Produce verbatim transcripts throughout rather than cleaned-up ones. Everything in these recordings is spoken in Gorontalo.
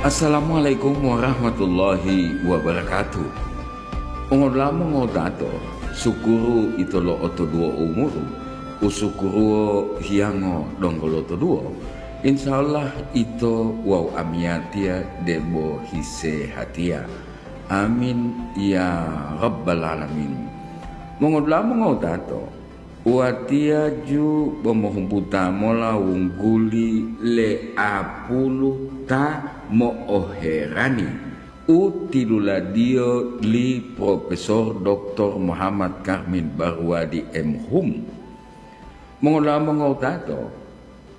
Assalamualaikum warahmatullahi wabarakatuh. Mongodula'a mongotato, sukuru ito lo'otoduwo umuru, usukuruwo hiyango donggo lotoduwo. Insya Allah ito wawu amiyatiya debo hisehatiya. Amin ya rabbal alamin. Mongodula'a mongotato, watiya ju bo mohumbuta mola wungguli le apulu ta mo'oherani u tiluladiyo li Profesor Doktor Muhammad Karmin Barwadi M Hum. Mongodula'a mongotato,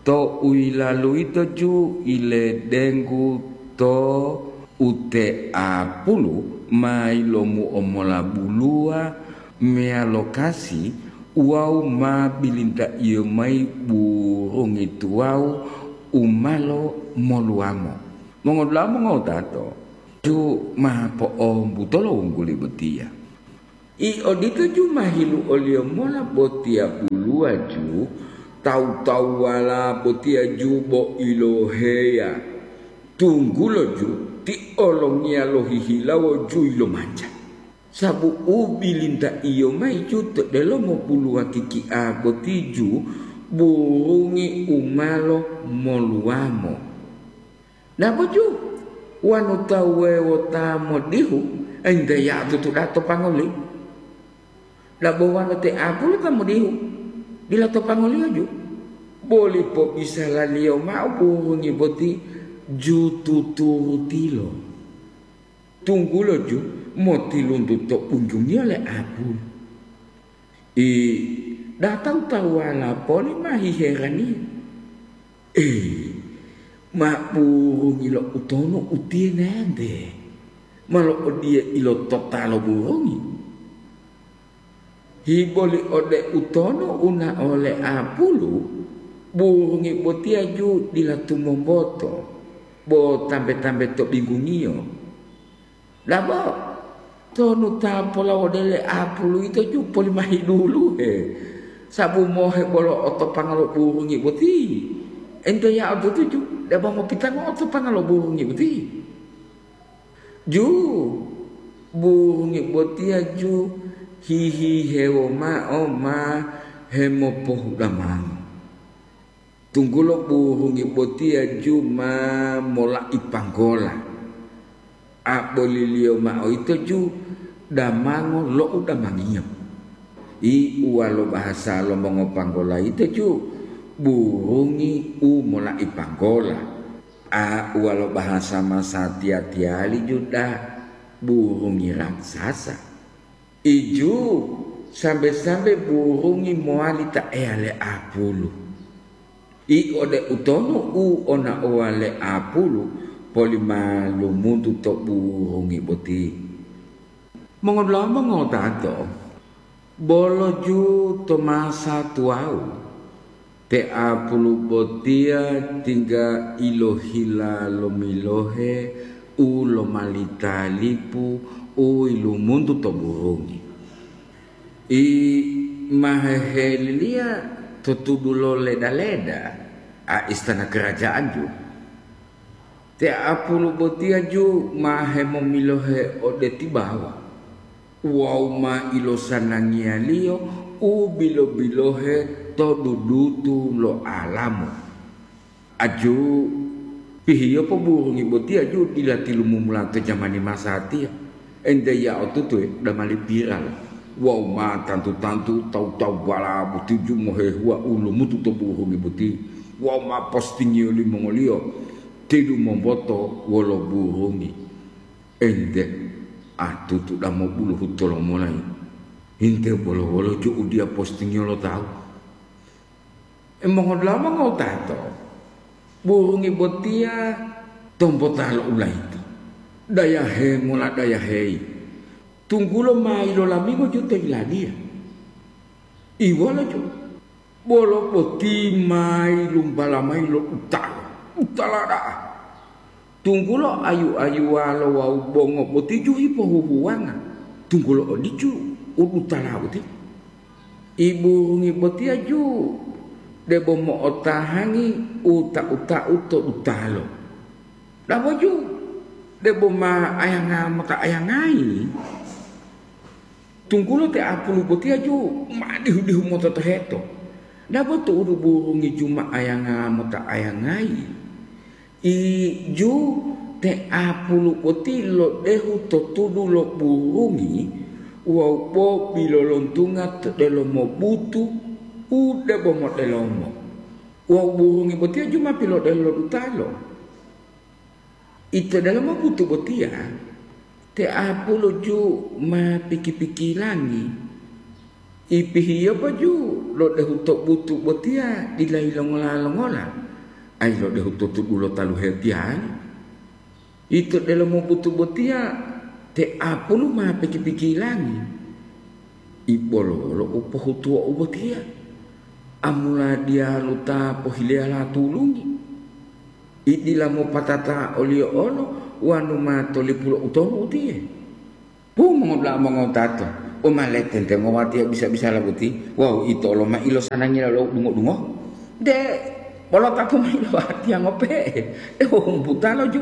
to u yilalu yito ju iledenggu to uteapulu ma yilomu'o mola buluwa meyalo kasi wawu ma bilintaiyo mayi burungi tuwawu u ma lomoluwamo. Mongodula'a mongotato, ju ma po'ombutolo wungguli botiya. I odito ju ma hiluoliyo mola botiya buluwa ju, tawu-tawuwala botiya ju bo iloheya, tunggulo ju ti olongiya lohihilawo ju yilomanja. Sabu u bilintaiyo mayi ju to delomo buluwa kikia boti ju burungi u ma lomoluwamo. Dabo ju, wonu tawu wuwewo ta modihu, ente ya'o tutu da'a to pangoli. Dabo wonu te apulu ta modihu, dila to pangoliyo ju, boli pobisalaliyo mao burungi boti ju tuturutilo. Tunggulo ju motiluntu to bunjungiyo le apulu. I, da'a tawu-tawuwala poli ma hiheraniya. Ei, ma burungi lo utonu utiye nente, ma lo'odiye ilotota lo burungi. Hiboli ode utonu una'o le apulu, burungi botiya ju dila tumomboto, bo tambe-tambe to binggungiyo. Dabo, tonu ta polawode le apulu yito ju poli ma hiduluhe, sabu mohe bolo otopanga lo burungi boti. Ente ya'o tutuju, debo mopitango otopanga lo burungi boti. Ju, burungi botiya ju hihihewo mao ma hemopohudamango. Tunggulo burungi botiya ju ma mola'i panggola. Aboliliyo mao yito ju damango lo udamangiyo. I uwalo bahasa lo mongopanggola yito ju burungi u mola'i panggola. A uwalo bahasa masatiya-tiyali ju da burungi raksasa. Iju, sambe-sambe burungi mowali ta eya le apulu. I ode utonu u onaowa le apulu, poli ma lumuntu to burungi boti. Mongodula'a mongotato, bolo ju to masa tuwawu, te apulu botiya tingga ilohila lomilohe u lomali talipu u yilumuntu to burungi. I ma heheliliya to tudu lo leda-leda, a istana kerajaan ju. Te apulu botiya ju ma hemomilohe ode tibawa. Wawu ma ilosanangiyaliyo u bilo-bilohe to dudutu lo alamu. Aju, pihiyopo burungi botiya ju dila tilumumula to jamani masatiya. Ente ya'o tutue damali piral. Wawu ma tantu-tantu tawu-tawuwala botiyu mohehuwa u lomutu to burungi boti. Wawu ma postingiyo limongoliyo tilumomboto wolo burungi. Ente, atutu damo buluhu tolomolayi. Inte bolo-wolo ju udiya postingiyo lo tawu. E mongodula'a mongotato, burungi botiya tombota lo ulayito. Dayahe mola dayaheyi, tunggulo ma yilolamingo ju to yiladiya. Iwolo ju. Bolo boti ma yilumbala mayi lo utalo, utala da'a. Tunggulo ayu-ayuwalo wawu bongo boti ju hipohuhuwanga, tunggulo odicu u dutala boti. Iburungi botiya ju debo mo'otahangi u tau-tau to dutalo. Dabo ju, Debo ma ayanga mota ayangayi, tunggulo te apulu botiya ju ma dihu-dihu mototoheto. Dabo tu'udu burungi ju ma ayanga mota ayangayi. Iju te apulu boti lodehu to tudu lo burungi wawu bo bilolontunga to delomo butu u debo modelomo. Wawu burungi botiya ju ma pilodehu lo dutalo. Ito delomo butu botiya, te apulu ju ma piki-pikilangi. Ipihiyopa ju lodehu to butu botiya dila yilongola-longola, ayi lodehu to tudu lo taluhe tiyali. Ito delomo butu botiya, te apulu ma piki-pikilangi. Ibololo u pohutuwo u botiya, amula diyalu ta pohileyala tulungi. Idila mopatata oliyo olo wanu ma tolipulo utonu utiye. Pu mongodula'a mongotato, u ma letentengo watiya bisa-bisala boti wawu ito olo ma ilosanangiya lo dungo-dungo? De, bolo tapu ma ilo watiya ngope'e, de wohumbutalo ju.